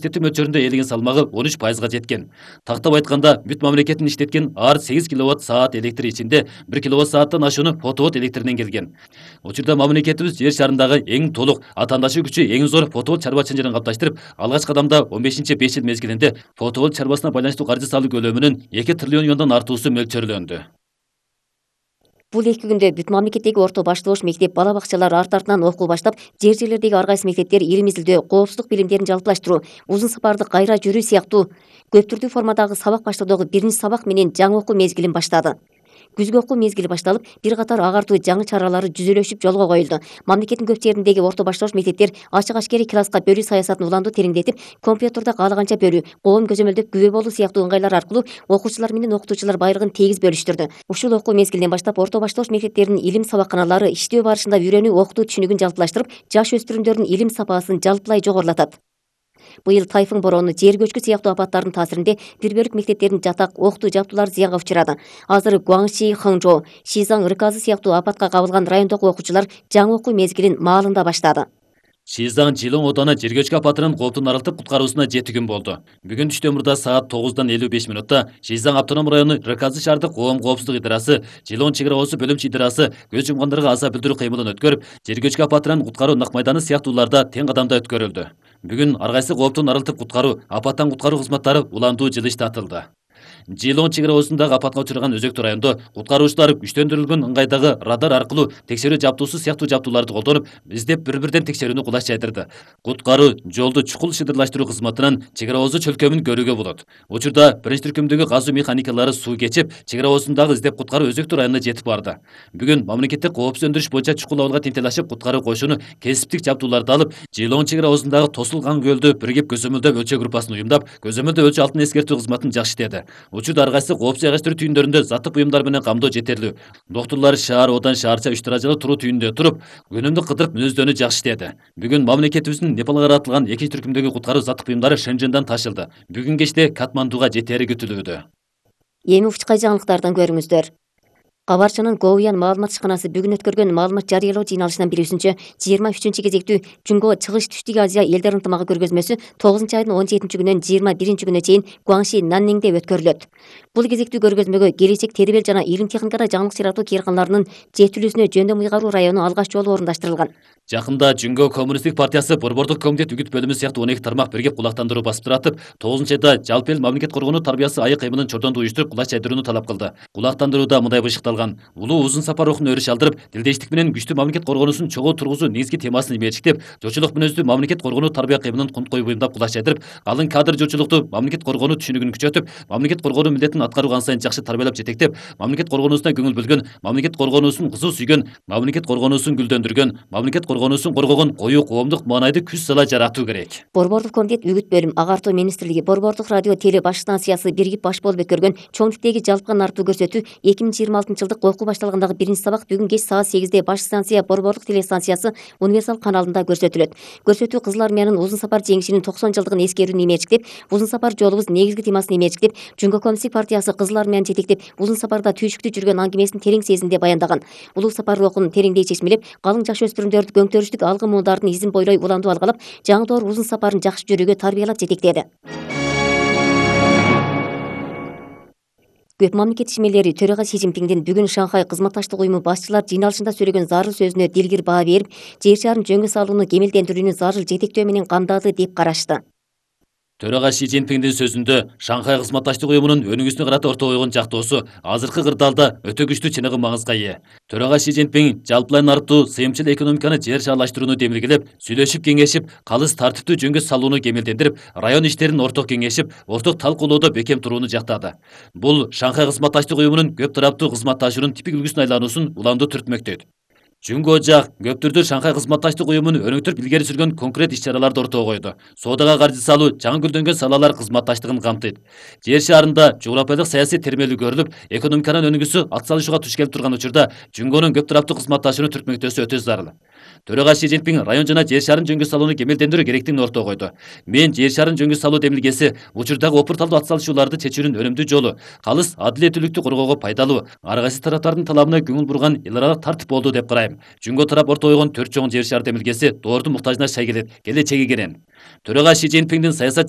иштетүү мөлчөрүндө ээлеген салмагы 13%га жеткен. Тактап айтканда, бүт мамлекеттин иштеткен ар 8 киловатт-саат электр ичинде 1 киловатт-сааттан ашууну фотоволт электринен келген. Учурда мамлекетибиз жер шарындагы эң толук, атаандашы күчү эң зор фотоволт чарбачылыгын калыпташтырып, алгачкы кадамда 15-5 жыл мезгилинде фотоволт чарбасына байланыштуу каржы салуу көлөмүнүн 2 триллион юандан артуусу мөлчөрлөндү. Бул 2 күндө бүт мамлекеттеги орто башталыш мектеп бала бакчалар арт-артынан окуу баштап, жер-жерлердеги ар кайсы мектептер илим изилдөө, коопсуздук билимдерин жалпылаштыруу, узун сапарды кайра жүрүү сыяктуу көп түрдүү формадагы сабак баштоодогу биринчи сабак менен жаңы окуу мезгилин баштады. Күзгү окуу мезгили башталып, бир катар агартуу жаңы чаралары жүзөлөшүп жолго коюлду. Мамлекеттин көп жериндеги орто башталыш мектептер ачык ашкери класска бөлүү саясатын уланду тереңдетип, компьютерде каалаганча бөлүү, коом көзөмөлдөп күбө болуу сыяктуу ыңгайлар аркылуу окуучулар менен окутуучулар байлыгын тегиз бөлүштүрдү. Ушул окуу мезгилинен баштап орто башталыш мектептеринин илим сабакканалары иштөө барышында үйрөнүү окутуу түшүнүгүн жалпылаштырып, жаш өспүрүмдөрдүн илим сапасын жалпылай жогорулатат. Быйыл тайфун бороону, жер көчкү сыяктуу апаттардын таасиринде бир бөлүк мектептердин жатак, окутуу жабдуулары зыянга учурады. Азыр Гуаңши, Хыңжо, Шизаң, Рыказы сыяктуу апатка кабылган райондогу окуучулар жаңы окуу мезгилин маалында баштады. Шизаң Жилоң ооданы жер көчкү апатынын кооптун арылтып куткаруусуна 7 күн болду. Бүгүн түштөмүрдө саат 9:55 минутта Шизаң автоном району Рыказы шаардык коом коопсуздук идарасы, Жилоң чек ара оосу бөлүмчө идарасы көз жумгандарга аза билдирүү кыймылын өткөрүп, жер көчкү апатынан куткаруу нак майданы сыяктууларда тең кадамда өткөрүлдү. Бүгүн ар кайсы кооптун арылтып куткаруу, апаттан куткаруу кызматтары уландуу жылыш татылды. Жилоң чек ара оосундагы апатка учураган өзөктүү райондо куткаруучулар күчтөндүрүлгөн ыңгайдагы радар аркылуу текшерүү жабдуусу сыяктуу жабдууларды колдонуп, издеп бир-бирден текшерүүнү кулаш жайдырды. Куткаруу, жолду чукул шыдырлаштыруу кызматынан чек ара оосу чөлкөмүн көрүүгө болот. Учурда биринчи түркүмдөгү казуу механикалары суу кечип, чек ара оосундагы издеп куткаруу өзөктүү районуна жетип барды. Бүгүн мамлекеттик коопсуз өндүрүш боюнча чукул абалга тентел ашып, куткаруу коюшуну кесиптик жабдууларды алып, Жилоң чек ара оосундагы тосулган көлдү биригип көзөмөлдөп өлчөө группасын уюмдап, көзөмөлдөө өлчө алтын эскертүү кызматын жакшы иштеди. Учурда ар кайсы коопсуз жайгаштыруу түйүндөрүндө заттык буюмдар менен камдоо жетерлүү. Доктурлар шаар, одан шаарча 3 даражалуу туруу түйүндө туруп, күнүмдүк кыдырып мүнөздөнүү жакшы иштеди. Бүгүн мамлекетибиздин Непалга каратылган 2 түркүмдөгү куткаруу заттык буюмдары Шенженден ташылды. Бүгүн кечте Катмандуга жетери күтүлүүдө. Эми учкай жаңылыктардан көрүңүздөр. Кабарчынын Гоуян маалымат ишканасы бүгүн өткөргөн маалымат жарыялоо жыйналышынан билүүсүнчө, 23 кезектүү Жунго чыгыш Түштүк Азия элдер ынтымагы көргөзмөсү 9-айдын 17-күнөн 21-күнүнө чейин Гуаңши Нанниңде өткөрүлөт. Бул кезектүү көргөзмөгө келечек тербел жана илим техникада жаңылык чыгаратуу кээрканаларынын жетилүүсүнө жөндөм ыйгаруу району алгач жолу орундаштырылган. Жакында Жунго коммунисттик партиясы Борбордук комитет үгүт бөлүмү сыяктуу 12 тармак биргеп кулактандыруу басып туратып, 9-айда жалпы эл мамлекет коргонуу тарбиясы айык кыймылын чордондуу уюштуруп кулаш жайдырууну талап кылды. Кулактандырууда мындай бышыкталган: улуу узун сапар рухун өрүш алдырып, тилдештик менен күчтүү мамлекет коргоонусун чогуу тургузуу негизги темасын ибечиктеп, жочулук мүнөздүү мамлекет коргонуу тарбия кыймылын кунт коюп буюмдап кулаш жайдырып, калың кадр жочулукту мамлекет коргонуу түшүнүгүн күчөтүп, мамлекет коргонуу милдетин аткарууга ан сайын жакшы тарбиялап жетектеп, мамлекет коргонуусуна көңүл бөлгөн, мамлекет коргонуусун кызуу сүйгөн, мамлекет коргонуусун гүлдөндүргөн, мамлекет коргонуусун коргогон коюу коомдук маанайды күч сала жаратуу керек. Борбордук комитет үгүт бөлүм, агартуу министрлиги, Борбордук радио теле баш станциясы биригип баш болуп өткөргөн чоң типтеги жалпыга нартуу көрсөтүү 2026 жылдык окуу башталгандагы биринчи сабак бүгүн кеч саат 8-де баш станция Борбордук телестанциясы универсал каналында көрсөтүлөт. Көрсөтүү Кызыл армиянын узун сапар жеңишинин 90 жылдыгын эскерүүнү имечиктеп, узун сапар жолубуз негизги темасын имечиктеп, Жунго коммунисттик партиясы Кызыл армияны жетектеп, узун сапарда түйшүктүү жүргөн аңгемесин терең сезимде баяндаган. Улуу сапар рухун тереңдей чечмелеп, калың жаш өспүрүмдөрдү көңтөрүштүк алгы муундардын изин бойлой уландуу алгалап, жаңы доор узун сапарын жакшы жүрүүгө тарбиялап жетектеди. Көп мамлекет ишмерлери төрага Си Цзиньпиңдин бүгүн Шанхай кызматташтык уюму башчылар жыйналышында сөйлөгөн зарыл сөзүнө дилгир баа берип, жер шарын жөнгө салууну кемелдендирүүнү зарыл жетектөө менен камдады деп карашты. Төрага Си Цзиньпиңдин сөзүндө Шанхай кызматташтык уюмунун өнүгүүсүнө карата орто койгон жактоосу азыркы кырдаалда өтө күчтүү чыныгы маңызга ээ. Төрага Си Цзиньпиң жалпылай нартуу сыйымчыл экономиканы жер шаарлаштырууну демилгелеп, сүйлөшүп кеңешип, калыс тартиптүү жөнгө салууну кемелдендирип, район иштерин орток кеңешип, орток талкуулоодо бекем турууну жактады. Бул Шанхай кызматташтык уюмунун көп тараптуу кызматташуунун типик үлгүсүнө айлануусун уламдуу түртмөктөйт. Жунго жак көп түрдүү Шанхай кызматташтык уюмун өнүктүрүп илгери сүргөн конкрет иш-чараларды ортого койду. Соодага каржы салуу жаңы гүлдөнгөн салалар кызматташтыгын камтыйт. Жер шаарында жогорапайлык саясий термелүү көрүлүп, экономиканын өнүгүүсү атсалышууга туш келип турган учурда Жунгонун көп тараптуу кызматташууну түртмөктөөсү өтө зарыл. Төрага Си Цзиньпиң район жана жер шарын жөнгө салууну кемелдендирүү керектигин ортого койду. Мен жер шарын жөнгө салуу демилгеси учурдагы опурталдуу атсалышууларды чечүүнүн өнүмдүү жолу, калыс адилеттүүлүктү коргоого пайдалуу, ар кайсы тараптардын талабына көңүл бурган эл аралык тартип болду деп карайм. Жунго тарап орто койгон 4 чоң жер шаар демилгеси доордун муктажына шай келет, келечеги керен. Төрага Си Цзиньпиңдин саясат